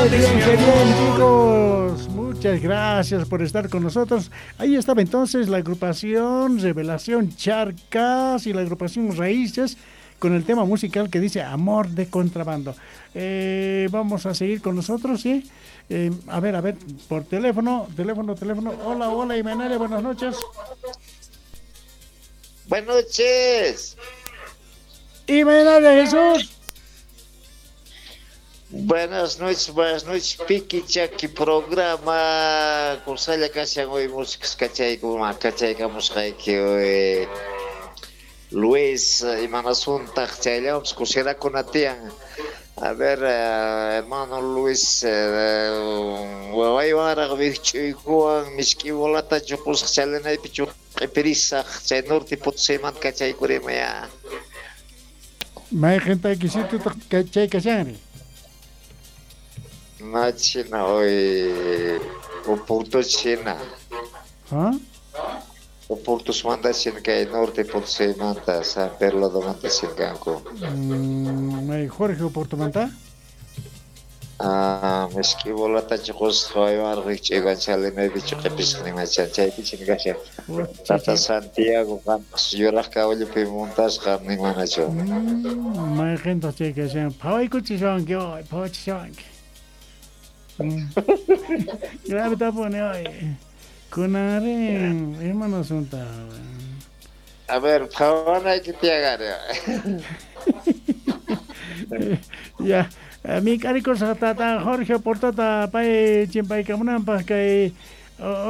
Qué bien, qué bien, chicos. Muchas gracias por estar con nosotros. Ahí estaba entonces la agrupación Revelación Charcas y la agrupación Raíces con el tema musical que dice Amor de Contrabando. Vamos a seguir con nosotros, ¿sí? A ver, por teléfono, teléfono. Hola, hola, Imenaria, buenas noches. Buenas noches. Imenaria Jesús. Buenas noches, Piki Chaki programa. Kusalla kashan hoy músicas kachaykamusqayki hoy. Luis imanasuntaq chayllawanpis kusirakuna tiyan. A ver, hermano Luis, wawaywanraq wijch'uykuwan misk'i bolata chuqusaq chalinaypi chuq'ipirisaq chay norte Potosímanta kachaykurimaya. Mayqintayki chay kashanri? No, china hoy Oporto china. ¿Ah? Oportusmanta china kay norte Potosímanta San Pedro manta china kanku. May Jorge Oportomanta? Ah, misk'i bolata chuqusaq wawaywanraq wijch'uykuwan chalinaypi chuq'ipisaq nimachan chaypi china kashan. Tata Santiago qampas yuraq kawallupi montasqa nimanachu. Mayqintaq chay kashan phawaykuchishawanki hoy, phawachishawanki. Grave tapuni hoy. Kunanri imanasunta. A ver, phawanayki tiyagari. Ya, mi k'arikusaq tata Jorge Oportota pay chimpaykamunanpaq kay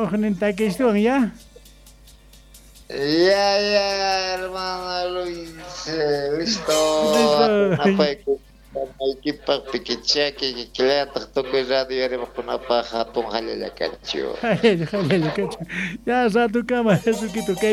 ujnin takiystuwan ya. Ya, ya, hermano Luis, listo. Listo. Equipaq Pikichaki kikillataq tukuy radio rimaqkunapaq hatun hallallakachu. Hallallakachu. Ya ratukama Jesuquito kaypi.